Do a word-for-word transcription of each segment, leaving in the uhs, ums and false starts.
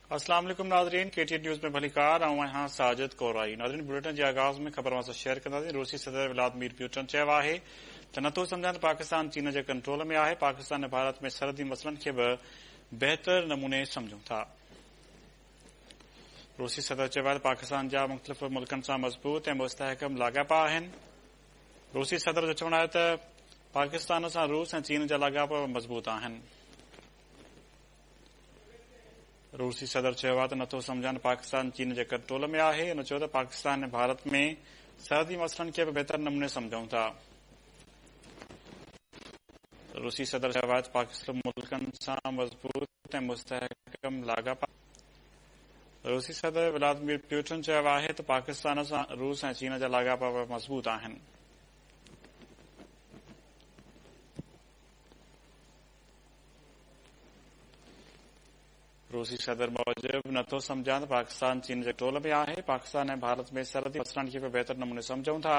अस्सलाम वालेकुम नाज़रीन, के टी एन न्यूज़ में भलीकार। आउं आहियां साजिद कोराई। नाज़रीन, बुलेटिन जे आगाज़ में ख़बर असां शेयर कंदासीं। रूसी सदर व्लादिमीर प्यूटन चयो आहे त नथो सम्झां त पाकिस्तान चीन जे कंट्रोल में आहे। पाकिस्तान ऐं भारत में सरहदी मसइलनि खे बि बहितर नमूने सम्झूं था। रूसी सदर चयो आहे त पाकिस्तान जा मुख़्तलिफ़ मुल्कनि सां मज़बूत ऐं मुस्तहकम लाॻापा आहिनि। रूसी सदर जो चवणु आहे त पाकिस्तान सां रूस ऐं चीन जा लाॻापा मज़बूत आहिनि। रूसी सदर चयो आहे त नथो सम्झां त पाकिस्तान चीन जे कंट्रोल में आहे। हुन चयो त पाकिस्तान ऐं भारत में सरहदी मसइलनि खे बि बहितर नमूने सम्झूं था। रूसी सदर चयो आहे त पाकिस्तान मुल्कनि सां मज़बूत ऐं मुस्तहकम लाॻापा। रूसी सदर व्लादिमीर प्यूटन चयो आहे त पाकिस्तान सां रूस ऐं चीन जा लाॻापा मज़बूत आहिनि। रूसी सदर मूजिबि नथो सम्झां त पाकिस्तान चीन जे कंट्रोल में आहे। पाकिस्तान ऐं भारत में सरहदी मसइलनि खे बि बहितर नमूने सम्झूं था।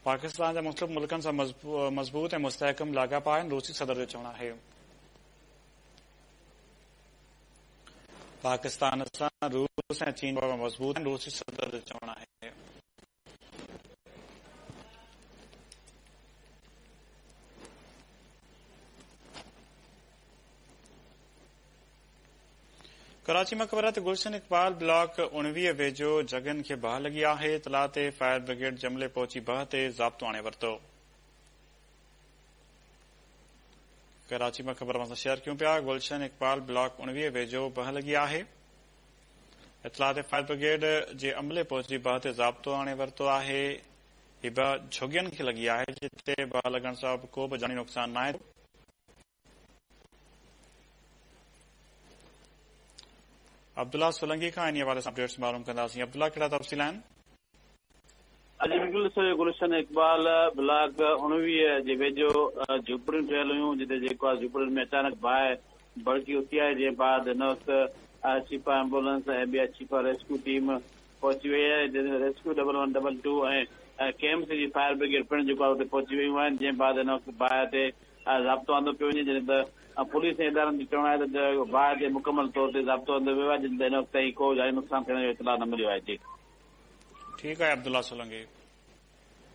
पाकिस्तान जा मुख़्तलिफ़ मुल्कनि सां मज़बूत ऐं मुस्तहकम लाॻापा आहिनि, रूसी सदर जो चवणु आहे। पाकिस्तान सां रूस ऐं चीन मज़बूत आहिनि, रूसी सदर जो चवणु आहे। कराची में ख़बर आहे त गुलशन इक़बाल ब्लॉक उणिवीह वेझो जॻहियुनि खे बाहि लॻी आहे। इतला ते फायर ब्रिगेड जमले पहुची बाहि ते ज़ाब्तो आणे वरितो। कराची में ख़बर असां शेयर कयूं पिया। गुलशन इक़बाल ब्लॉक उणिवीह वेझो बाहि लॻी आहे। इतला ते फायर ब्रिगेड जे अमले पहुची बाहि ते ज़ाब्तो आणे वरितो आहे। हीअ बाहि झुगियुनि खे लॻी आहे, जिते बाहि लॻण सां को बि जानी नुक़सानु नाहे। अब्दुल्ला सोलंगी खां इन हवाले सां अपडेट्स मालूम कंदासीं। अब्दुल्ला, कहिड़ा तफ़सील आहिनि? अॼु बिल्कुलु गुलशन इक़बाल ब्लॉक उणिवीह जे वेझो झूपड़ियूं ठहियल हुयूं, जिते जेको आहे झूपड़ियुनि में अचानक बाहि भड़की उथी आहे, जंहिं बाद हिन वक़्तु चीपा एम्बुलेंस ऐं ॿिया चीपा रेस्क्यू टीम पहुची वई आहे। जंहिंमें rescue double one double two ऐं केएमसी जी फायर ब्रिगेड पिणु जेको आहे उते पहुची वयूं आहिनि, जंहिं बाद हिन वक़्तु बाहि ते ज़ाब्तो आंदो पियो वञे। जॾहिं त पुलिस ऐं इदारनि जो चवणु आहे त बाहि ते मुकमल तौर ते ज़ाब्तो आंदो वियो आहे, जॾहिं त हिन वक़्तु ताईं को जानी नुक़सानु थियण जो इतला न मिलियो आहे। जी ठीकु आहे, अब्दुल्ला सोलंगी।